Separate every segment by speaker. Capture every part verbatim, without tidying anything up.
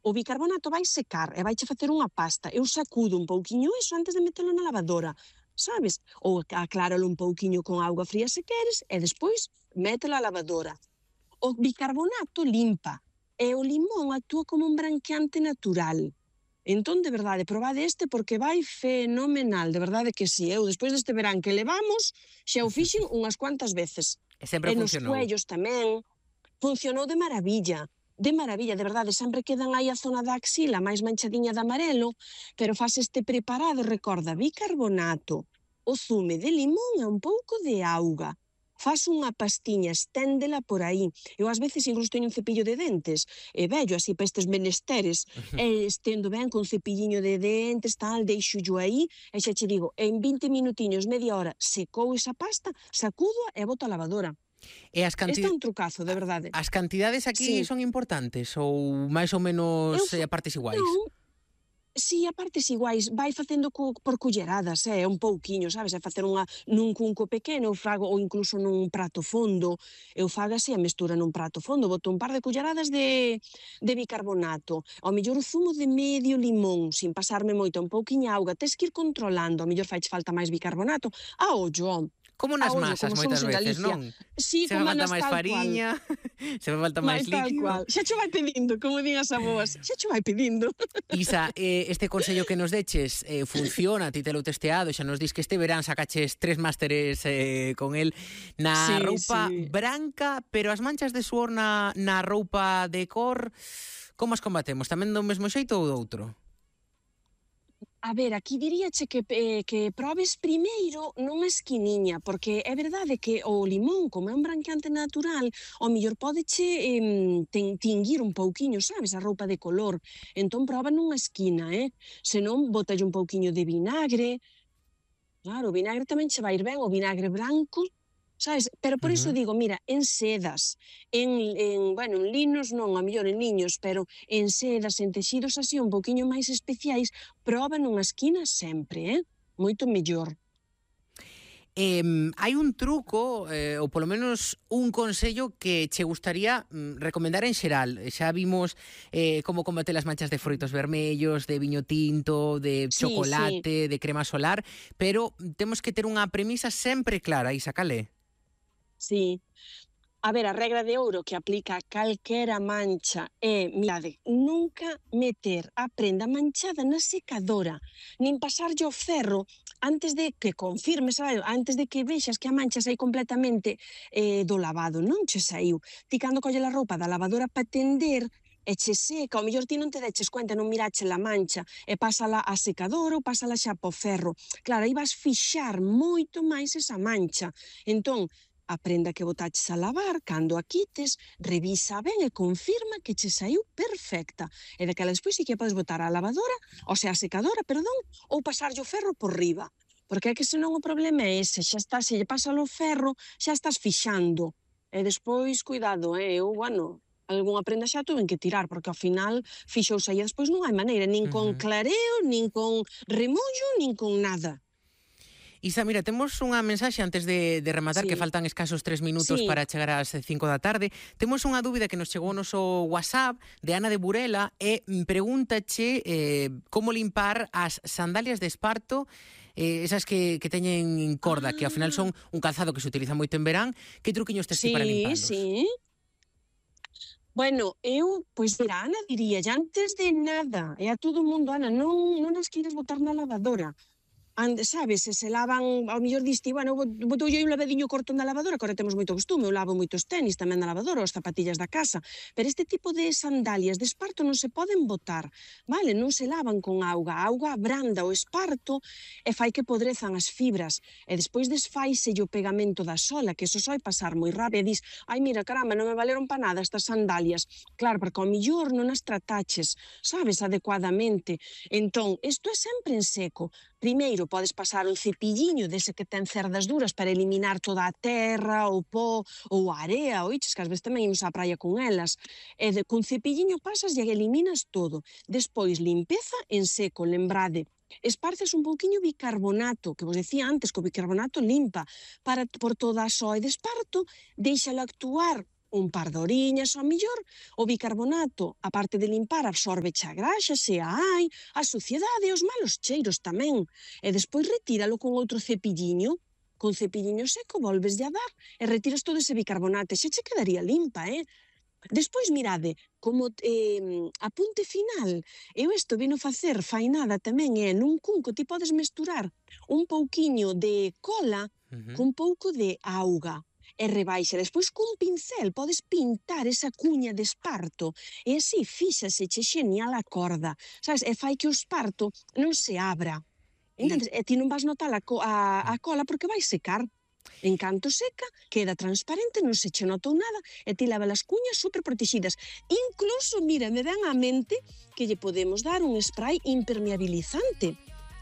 Speaker 1: O bicarbonato vai secar e vai che facer unha pasta. Eu sacudo un pouquiño iso antes de metelo na lavadora, sabes? Ou acláralo un pouquiño con auga fría se queres e despois mételo á lavadora. O bicarbonato limpa e o limón actúa como un branqueante natural. Entón, de verdade, probade este porque vai fenomenal, de verdade que si. Eu, despois deste verán que levamos, xa o fixen unhas cuantas veces.
Speaker 2: E sempre
Speaker 1: e nos
Speaker 2: funcionou.
Speaker 1: cuellos tamén. Funcionou de maravilla. De maravilla, de verdade, sempre quedan aí a zona da axila máis manchadiña de amarelo, pero faz este preparado, recorda, bicarbonato, o zume de limón e un pouco de auga. Faz unha pastiña, esténdela por aí. Eu ás veces incluso teño un cepillo de dentes, e vello así para estes menesteres, e estendo ben con cepilliño de dentes, tal, deixo-llo aí, e xa che digo, en vinte minutiños, media hora, secou esa pasta, sacudo e boto a lavadora.
Speaker 2: E as
Speaker 1: Este é
Speaker 2: cantidades...
Speaker 1: un trucazo, de verdade.
Speaker 2: As cantidades aquí
Speaker 1: Sí.
Speaker 2: son importantes ou máis ou menos
Speaker 1: Eu
Speaker 2: eh,
Speaker 1: fa-
Speaker 2: a partes iguais?
Speaker 1: Non, si, a partes iguais, vai facendo co, por culleradas, é, un pouquiño, sabes? É facer unha nun cunco pequeno, eu fago, ou incluso nun prato fondo, eu fago así a mestura nun prato fondo, boto un par de culleradas de, de bicarbonato, ao mellor o zumo de medio limón, sin pasarme moito, un pouquiño auga, tes que ir controlando, ao mellor faiche falta máis bicarbonato, a ollo,
Speaker 2: Como
Speaker 1: a
Speaker 2: nas
Speaker 1: ollo,
Speaker 2: masas
Speaker 1: como
Speaker 2: moitas
Speaker 1: somos en
Speaker 2: veces,
Speaker 1: Galicia.
Speaker 2: non?
Speaker 1: Si,
Speaker 2: Se me
Speaker 1: como
Speaker 2: falta
Speaker 1: nas
Speaker 2: máis
Speaker 1: tal cual.
Speaker 2: fariña, se me falta máis
Speaker 1: Mais tal
Speaker 2: líquido.
Speaker 1: cual. Xa cho vai pedindo, como din as aboas. Xa cho vai pedindo.
Speaker 2: Isa, eh, este consello que nos deches eh, funciona, ti te lo testeado, xa nos dis que este verán sacaches tres másteres eh, con el na
Speaker 1: Sí,
Speaker 2: roupa
Speaker 1: sí.
Speaker 2: branca, pero as manchas de suor na, na roupa de cor, como as combatemos? Tamén do mesmo xeito ou do outro?
Speaker 1: A ver, aquí diríache que, eh, que probes primeiro nunha esquiniña, porque é verdade que o limón, como é un branqueante natural, ao mellor pódeche eh, ten, tinguir un pouquiño, sabes, a roupa de color. Entón proba nunha esquina, eh? Senón, botalle un pouquiño de vinagre. Claro, o vinagre tamén che vai ir ben, o vinagre branco, sabes? Pero por iso
Speaker 2: Ujú.
Speaker 1: digo, mira, en sedas, en, en, bueno, en linos non, a mellor en liños, pero en sedas, en texidos así un poquinho máis especiais, proba nunha esquina sempre, eh? Moito mellor.
Speaker 2: Eh, hai un truco, eh, ou polo menos un consello que che gustaría mm, recomendar en xeral. Xa vimos eh, como combater as manchas de froitos vermellos, de viño tinto, de
Speaker 1: Sí,
Speaker 2: chocolate, de crema solar, pero temos que ter unha premisa sempre clara, Isa, cal é?
Speaker 1: Sí. A ver, a regra de ouro que aplica a calquera mancha é, mirade, nunca meter a prenda manchada na secadora, nin pasarlle o ferro antes de que confirme, sabe? Antes de que vexas que a mancha sai completamente eh, do lavado, non che saiu. Ti cando colle a roupa da lavadora para tender, e che seca, ao mellor ti non te deches cuenta, non mirache a mancha, e pásala a secadora ou pásala xa po ferro. Claro, aí vas fixar moito máis esa mancha. Entón, a prenda que botaches a lavar, cando a quites, revisa ben e confirma que che saiu perfecta. E daquela despois sí que a podes botar á lavadora, ou sea, a secadora, perdón, ou pasarlle o ferro por riba. Porque é que senón o problema é ese, xa está, se lle pasa o ferro, xa estás fixando. E despois, cuidado, eh, eu, bueno, algunha prenda xa tuven que tirar, porque ao final fixouse aí, despois non hai maneira, nin con
Speaker 2: Ujú.
Speaker 1: clareo, nin con remollo, nin con nada.
Speaker 2: Isa, mira, temos unha mensaxe antes de, de rematar,
Speaker 1: Sí.
Speaker 2: que faltan escasos tres minutos
Speaker 1: Sí.
Speaker 2: para chegar ás cinco da tarde. Temos unha dúbida que nos chegou ao noso WhatsApp de Ana de Burela e mm, pregúntache eh, como limpar as sandalias de esparto, eh, esas que, que teñen corda, que ao final son un calzado que se utiliza moito en verán. Que truquiños tes ti para
Speaker 1: Sí,
Speaker 2: limpalos?
Speaker 1: sí. Bueno, eu, pois mira, Ana diría, antes de nada, e a todo o mundo, Ana, non, non as queres botar na lavadora. Ande, sabes, se se lavan, ao mellor diste, bueno, botoulle un lavadiño corto na lavadora, que agora temos moito costume, eu lavo moitos tenis tamén na lavadora, os zapatillas da casa, pero este tipo de sandalias de esparto non se poden botar, vale, non se lavan con auga, a auga abranda o esparto e fai que podrezan as fibras, e despois desfaise o pegamento da sola, que eso soi pasar moi rápido, e dis, ai mira, caramba, non me valeron pa nada estas sandalias, claro, porque ao mellor non as trataches, sabes, adecuadamente, entón, isto é sempre en seco. Primeiro, podes pasar un cepilliño dese que ten cerdas duras para eliminar toda a terra, o pó ou a area, oiches, que ás veces tamén imos á praia con elas. E de, cun cepilliño pasas e eliminas todo. Despois, limpeza en seco, lembrade. Esparces un pouquiño bicarbonato, que vos decía antes que o bicarbonato limpa, para, por toda a soa e de esparto, deixala actuar un par de horiñas, ao millor, o bicarbonato, a parte de limpar, absorbe a graxa, se a hai, a suciedade e os malos cheiros tamén. E despois retíralo con outro cepilliño, con cepilliño seco, volves a dar e retiras todo ese bicarbonato, xa che quedaría limpa, eh? Despois, mirade, como eh, apunte final, eu isto vino facer fainada tamén, é nun cunco ti podes mesturar un pouquiño de cola
Speaker 2: Uh-huh.
Speaker 1: cun pouco de auga e rebaixa. Despois, cun pincel, podes pintar esa cuña de esparto e así fíxase che xenial a corda, sabes? E fai que o esparto non se abra. Entendes? E ti non vas notar a, co a, a cola porque vai secar. En canto seca, queda transparente, non se che notou nada e ti leva as cuñas super protegidas. Incluso, mira, me dan á mente que lle podemos dar un spray impermeabilizante,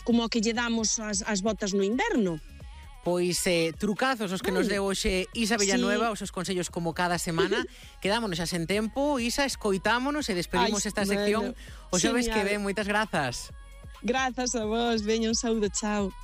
Speaker 1: como o que lle damos ás, ás botas no inverno.
Speaker 2: Pois eh, trucazos os que nos deu hoxe Isa Villanueva, sí. Os seus consellos como cada semana. Quedámonos xa sen tempo, Isa, escoitámonos e despedimos Ay, esta sección. Bueno, o xoves que ven, moitas grazas.
Speaker 1: Grazas a vos, veña, un saúdo, chao.